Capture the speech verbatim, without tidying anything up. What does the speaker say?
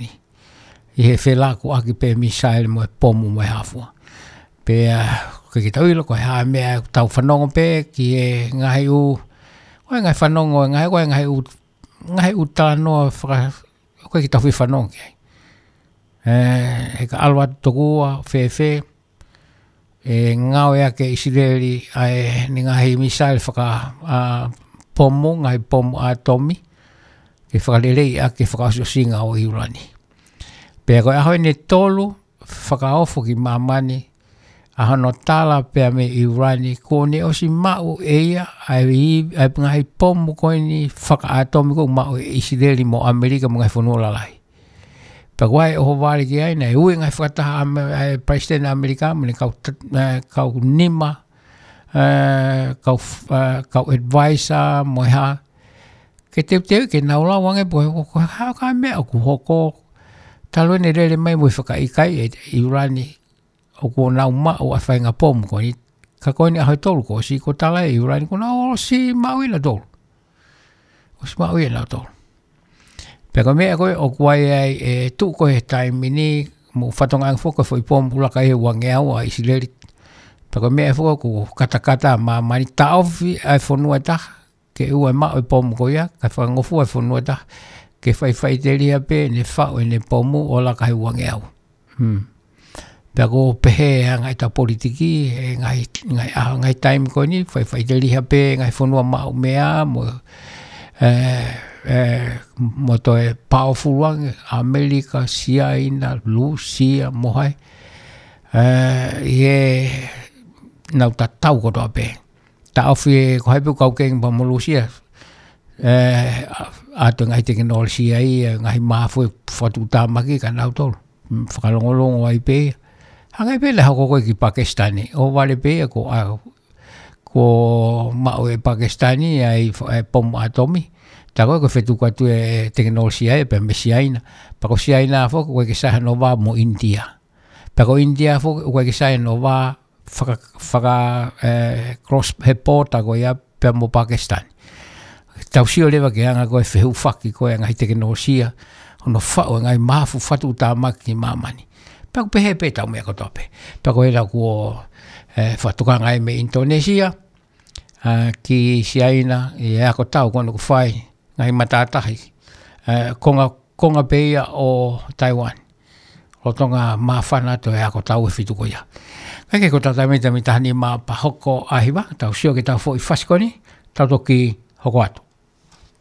ʻi he felakuʻaki pē misaele mo e pomu mo e hā fua. Pea, ʻoku ʻikai ke tau ʻilo ko e hā e meʻa ʻoku tau fanongo pē ki he ngaahi ʻū, ko e ngaahi fanongo, ngaahi, ko e ngaahi ʻū, ngaahi ʻū talanoa faka-, ʻoku ʻikai ke tau fie fanongo ki ai. ʻE, he ka ʻalu atu tokua, fēfē, ʻe ngāueʻaki ʻe ʻIsileli ʻa ʻene ngaahi misaele faka-, ʻa, pomu, ngaahi pomu ʻātomi, ke fakaleleiʻaki e fakaʻosiʻosinga ʻo ʻIulani. Pea ko e ʻaho ʻeni ʻe tolu, fakaofo ki māmani, ʻa hono tala pea mei ʻIulani, kuo ne ʻosi maʻu ʻe ia, ʻa e, ʻa e ngaahi pomu ko eni fakaʻātomi ʻoku maʻu ʻe ʻIsileli mo ʻAmelika mo e ngaahi fonua lalahi. Pea ko e ʻohovale ki ai naʻe ui e ngaahi fakataha ʻa e Palesiteni ʻAmelika, mo e kau t-, ʻe, kau nima, ʻe, kau f-, ʻe, kau advisor, mo e hā. Ke teuteu ke nau lau ange pe ko e hā e meʻa ʻoku hoko, talu ʻene lele mai mo e fakaʻikaiʻi ʻe ʻIulani, ʻoku nau maʻu ʻa e faʻahinga pomu ko eni. Ka ko eni ʻaho ʻe tolu kuo ʻosi, kuo tala ʻe ʻIulani, kuo nau ʻosi maʻuʻi nautolu. ʻOsi maʻuʻi nautolu. Pea ko e meʻa ko ē ʻoku ʻi ai ʻa e tuʻu ko ē he taimi ni, mo fatongia ange foki ko e foʻi pomu ʻoku laka ʻi he uangeau ʻa ʻIsileli. Pea ko e meʻa foki ʻoku katakata ʻa māmani, taʻofi ʻa e fonua ʻe taha, ke ʻoua ʻe maʻu e pomu ko ia, kae fakangofua e fonua ʻe taha, ke faifaiteliha pē ʻene faʻu ʻene pomu ʻo laka he uangeau. Hmm. Pea ʻoku pehē ʻa e ngaahi tau politiki, ʻe ngaahi, ngaahi, ʻa, ngaahi taimi ko eni, faifaiteliha pē ngaahi fonua maʻu meʻa, mo, ʻe, ʻe, mo toe powerful ange, ʻAmelika, Siaina, Lūsia, mo hai. ʻE, ʻi he nau tatau kotoa pē. Taʻofi ʻe ko hai pē ʻoku kau kengi pea mo Lūsia. ʻE, ʻa, ʻa e ngaahi tekinolosia ia, ngaahi mahafu fakatuʻutāmaki kia nautolu. Mm, fakalongolongo ai pē ia. Hangē pē naʻe hoko ko ē ki Pakisitani. ʻOhovale pē ia ko, ʻa, kuo maʻu ʻe Pakisitani ʻa e f-, ʻa e pomu ʻātomi. Tā ko ē ʻoku fetuku atu e tekinolosia ia pea mei Siaina. Pea ko Siaina foki ʻoku ʻikai ke sai hano vā mo ʻInitia. Pea ko ʻInitia foki ʻoku ʻikai ke sai hano vā faka-, faka-, ʻe, cross he pōta ko ia pea mo Pakisitani. Tau sio leva ki he anga ko ē e fehūfaki ko ē e ngaahi tekinolosia, hono faʻu e ngaahi mahafu fakatuʻutāmaki ki māmani. Pea ʻoku pehē pē ʻetau meʻa kotoa pē. Pea ko e lau kuo, ʻe, fakatokanga ai mei ʻInitonēsia, ʻa, ki Siaina, ʻi he ako tau ko eni ʻoku fai, ngaahi matātahi, ʻe, konga, konga pē ia ʻo Taiwan. Lolotonga māfana atu e ako tau ʻe fitu ko ia. Kae kehe ko e taimi, taimi taha nima pea hoko ʻa e hiva, tau sio ki heʻetau foʻi fasi ko eni, tau toki hoko atu.